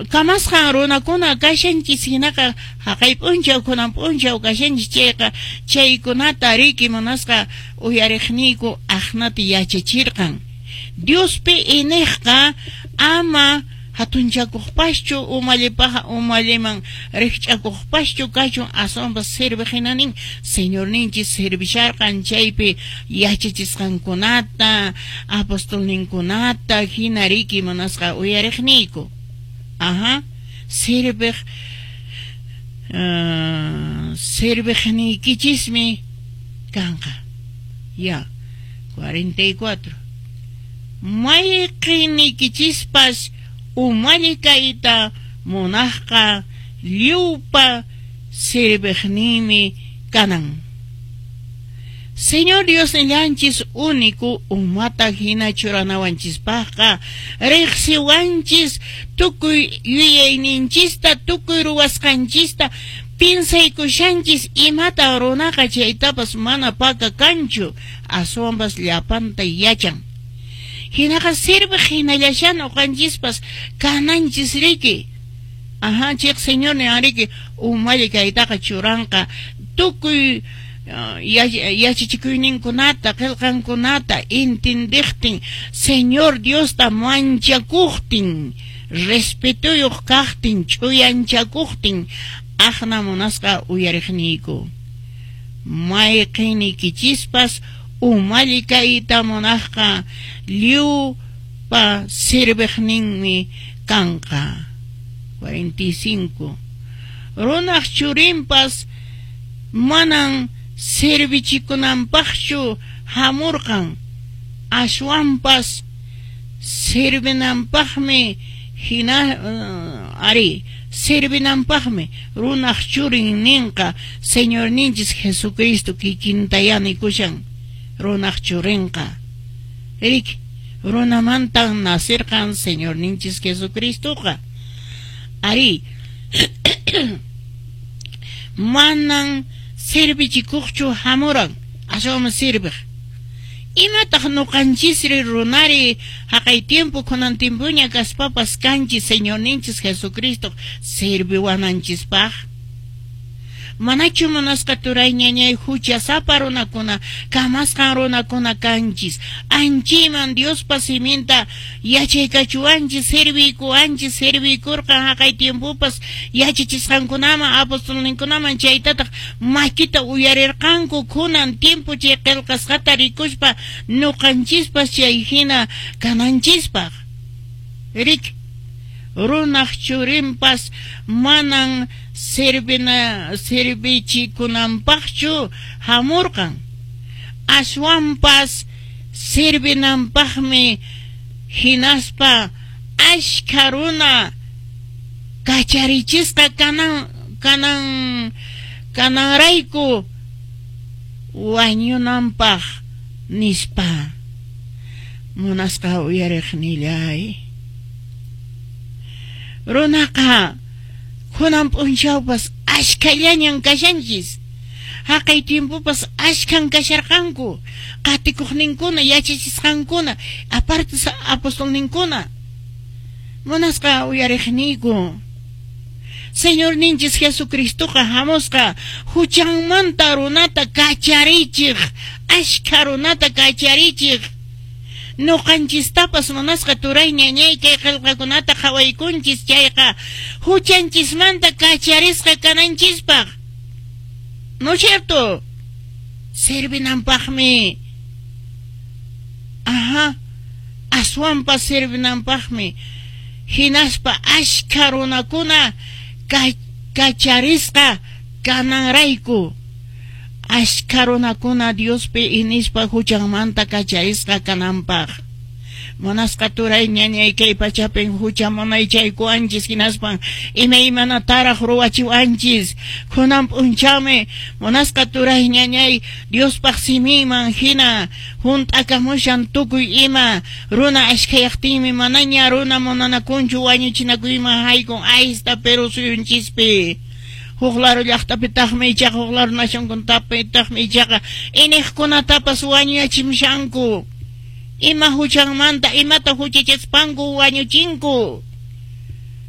Kamasqan runakuna kashanchis hinaqa haqay p'unchaw kunan p'unchaw kashanchis chayqa chaykunata riki munasqa uyariqniyku aqnata yachachirqan. Diospi iniqqa ama hatunchakuqpaschu umallipaqa umalliman rikch'akuqpaschu kachun aswanpas serviq hina nin Señorninchis servisharqan chaypi yachachisqankunata apostolninkunata hina riki munasqa uyariqniyku. Aha, serviq serviqniykichismi kanqa. Ya, 44. Mayqinniykichispas umalli kayta munaqqa lliwpa serviqninmi kanan. Señor Diosnillanchis único umata hina churanawanchispaqqa riqsiwanchis tukuy yuyayninchista tukuy ruwasqanchista piensaykushanchis imata runaqa chaytapas mana paka kanchu aswanpas llapanta yachan. Hinaqa sirviq hinallashan uqanchispas kananchis riki. Aha, chayqa Señor nin riki umalli kaytaqa churanqa tukuy yachachikuyninkunata qillqankunata entendiqtin Señor Diosta manchakuqtin respetuyuq kaqtin ch'uyanchakuqtin aqna munasqa uyariqniyku. Mayqinniykichispas umalli kayta munaqqa lliwpa serviqninmi kanqa. 45. Runaq churinpas manan servichikunanpaqchu hamurqan aswanpas servinanpaqmi hina ari servinanpaqmi runaq churin ninqa Señorninchis Jesucristo kikintaya nikushan runaq churinqa. Riki runamantan nacirqan Señorninchis Jesucristoqa. Ari manan servichikuqchu hamuran aswanmi serviq. Imataq nuqanchisri runari haqay tiempo kunan tiempoña kaspapas kanchis Señorninchis Jesucristo serviwananchispaq? Manachu munasqa turay ñañay huchasapa runakuna kamasqan runakuna kanchis anchiman Diospa siminta yachaykachuwanchis serviykuwanchis serviykurqan haqay tiempopas yachachisqankunaman apostolninkunaman chaytataq makita uyarirqanku kunan tiempo chay qillqasqata rikuspa nuqanchispas chay hina kananchispaq. Rik runaq churinpas manan servichikunanpaqchu hamurqan aswanpas servinanpaqmi hinaspa ashkha runa kacharichisqa kananrayku wañunanpaq nispa. Munasqa uyariqnillay. Runaqa kunan p'unchawpas ashkhallañan kashanchis. Haqay tiempopas ashkhan kasharqanku qatikuqninkuna yachachisqankuna aparte apostolninkuna. Munasqa uyariqniyku. Señorninchis Jesucristoqa hamusqa huchanmanta runata kacharichiq, ashkha runata kacharichiq. Nuqanchistapas munasqa turay ñañay kay qillqakunata qhawaykunchis chayqa huchanchismanta kacharisqa kananchispaq. ¿No cierto? Servinanpaqmi. Ajá. Aswanpas servinanpaqmi. Hinaspa ashkha runakuna kacharisqa kananrayku. Ashkha runakuna Diospi inispa huchanmanta kacharisqa kananpaq. Munasqa turay ñañay kay pachapin hucha munaychaykuwanchis hinaspan imaymanataraq ruwachiwanchis. Kunan p'unchawmi munasqa turay ñañay Diospaq siminman hina hunt'akamushan tukuy ima runa ashkhayaqtinmi manaña runa munanakunchu wañuchinakuyman haykun aysta Perú suyunchispi. Huk laro llaqtapitaqmi ichaqa huk laro nacionkunapitaqmi ichaqa iniqkunatapas wañuyachimushanku. Ima huchanmanta imata huchachaspanku wañuchinku.